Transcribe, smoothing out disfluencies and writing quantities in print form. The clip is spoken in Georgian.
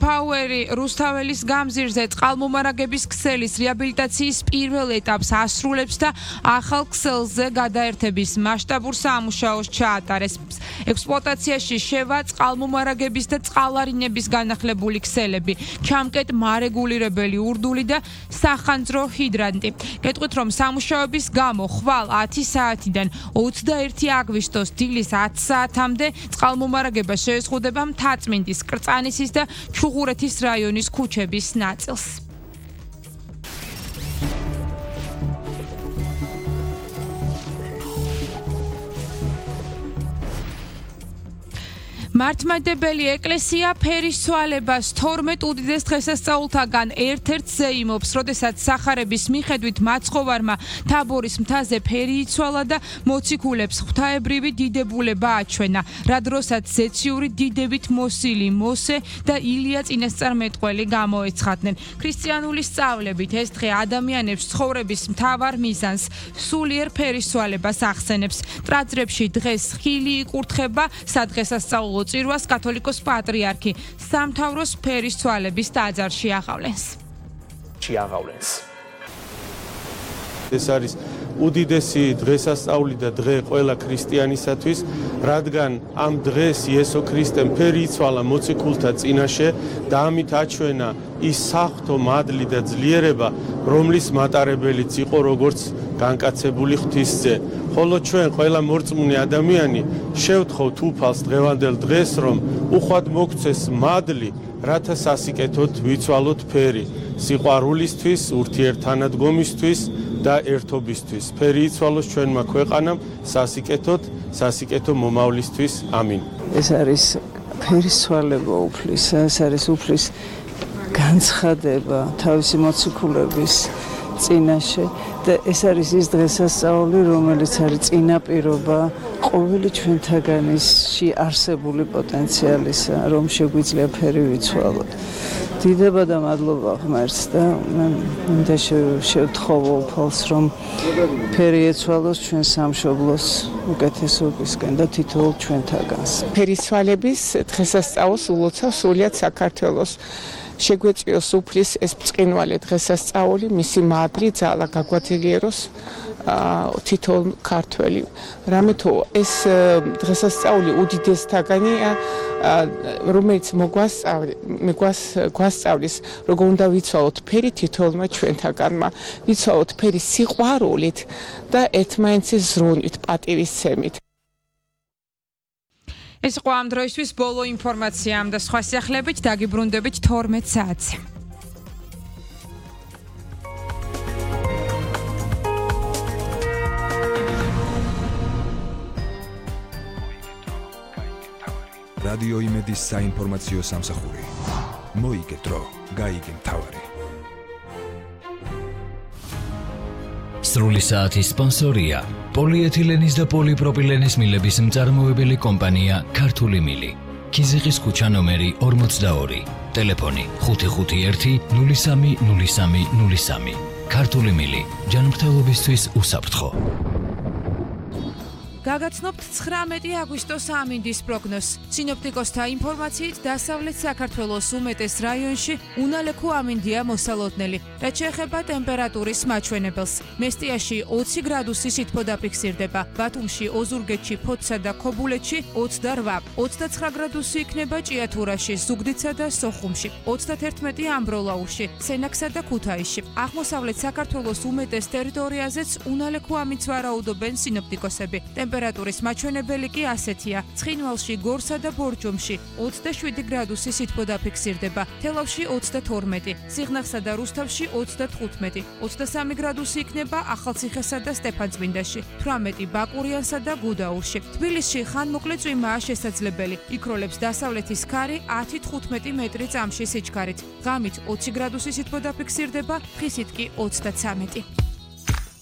Power-ი რუსთაველის გამზირზე წყალმომარაგების ქსელის რეაბილიტაციის პირველ ეტაპს ასრულებს და ახალ ქსელზე გადაერთების მასშტაბურ სამუშაოს ჩაატარეს. ექსპლუატაციაში შევა წყალმომარაგების და წყალარინების განახლებული ქსელები, ჩამკეტ მარეგულირებელი ურდული და სახანძრო ჰიდრანტი. გეტყვით, რომ სამუშაოების გამო ხვალ 10 საათიდან 21 აგვისტოს დილის 10 საათამდე წყალმომარაგება შეეზღუდება მთაწმინდის, კრწანისის და ჩუღურეთის რაიონის ქუჩების ნაწილს. მართლმადიდებელი ეკლესია ფერისცვალებას 12 უდიდეს დღესასწაულთაგან ერთ-ერთზე იმობს, როდესაც სახარების მიხედვით მაცხოვარმა თაბორის მთაზე ფერი იცვალა და მოციქულებს ღვთაებრივი დიდებულება აჩვენა, რა დროსაც ზეციური დიდებით მოსილი მოსე და ილია წინასწარმეტყველი გამოეცხადნენ. ქრისტიანული სწავლებით ეს დღე ადამიანებს ცხოვრების მთავარ მიზანს, სულიერ ფერისცვალებას ახსენებს. ტრაძრებში დღეს ხილი იკურთხება სადღესასწაულო წირვას კათოლიკოს პატრიარქი სამთავროს ფერისცვალების ტაძარში აღავლენს. ეს არის უდიდესი დღესასწაული და დღე ყველა ქრისტიანისათვის, რადგან ამ დღეს იესო ქრისტემ ფერი იცვალა მოციქულთა წინაშე და ამით აჩვენა ის საღვთო მადლი და ძლიერება, რომლის მატარებელიც იყო როგორც განკაცებული ღვთისძე. ხოლო ჩვენ ყველა მორწმუნე ადამიანი შევთხოვთ უფალს დღევანდელ დღეს, რომ უხვად მოგცეს მადლი, რათა სასიკეთოდ ვიცვალოთ ფერი, სიყვარულისთვის, ურთიერთთანადგომისთვის და ერთობისთვის. ფერი იცვალოს ჩვენმა ქვეყანამ სასიკეთო მომავლისთვის. ამინ. ეს არის ფერისცვალება უფლის, ეს არის უფლის განცხადება თავისი მოციქულების წინაშე და ეს არის ის დღესასწაული, რომელიც არის წინაპირობა ყოველი ჩვენთაგანისში არსებული პოტენციალისა, რომ შეგვიძლია ფერი ვიცვალოთ. დიდება და მადლობა ღმერთს და მინდა შევთხოვო უფალს, რომ ფერი ეცვალოს ჩვენ სამშობლოს უკეთესობისკენ და თითოეულ ჩვენთაგანს. ფერისცვალების დღესასწაულს ულოცავს სრულიად საქართველოს. შეგვეწიოს უფლის ეს ბრწყინვალე დღესასწაული, მისი მადლი ძალა გაგვაძლიეროს თითოეულ ქართველი. რამეთო ეს დღესასწაული უდიდესთაგანია, რომელიც გვასწავლის, როგორ უნდა ვიცვალოთ ფერი თითოეულმა ჩვენთაგანმა, ვიცვალოთ ფერი სიყვარულით და ერთმანეთის ზრუნვით, პატივისცემით. ეს იყო ამ დროისთვის ბოლო ინფორმაცია და სხვა სიახლეებით დაგიბრუნდებით 12 საათზე. რადიო იმედის საინფორმაციო სამსახური. მოიგდრო, გაიგე მთავარი. სრული საათის სპონსორია პოლიეთილენის და პოლიპროპილენის მილების მწარმოებელი კომპანია ქართული მილი. ქიზიყის ქუჩა ნომერი 42, ტელეფონი 551 030303. ქართული მილი, ჯანმრთელობისთვის უსაფრთხო. გაგაცნობთ 19 აგვისტოს ამინდის პროგნოზს. სინოპტიკოსთა ინფორმაციით დასავლეთ საქართველოს უმეტეს რაიონში უნალექო ამინდია მოსალოდნელი. რაც შეეხება ტემპერატურის მაჩვენებელს, მესტიაში 20 გრადუსი სითბო დაფიქსირდება, ბათუმში, ოზურგეთში, ფოთსა და ქობულეთში 28, 29 გრადუსი იქნება ჭიათურაში, ზუგდიდსა და სოხუმში, 31 ამბროლაურში, სენაკსა და ქუთაისში. აღმოსავლეთ საქართველოს უმეტეს ტერიტორიაზეც უნალექო ამინდს ვარაუდობენ სინოპტიკოსები. ტემპერატურის მაჩვენებელი კი ასეთია: ცხინვალში, გორსა და ბორჯომში 27 გრადუსი სითბო დაფიქსირდება, თელავში 22, სიღნაღსა და რუსთავში 35, 23 გრადუსი იქნება ახალციხესა და სტეფანწმინდაში, 18 ბაკურიანსა და გუდაურში. თბილისში ხანმოკლე წვიმაა შესაძლებელი, იქროლებს დასავლეთის ქარი 10-15 მეტრი წამში სიჩქარით, ღამით 20 გრადუსი სითბო დაფიქსირდება, ხისით კი 33.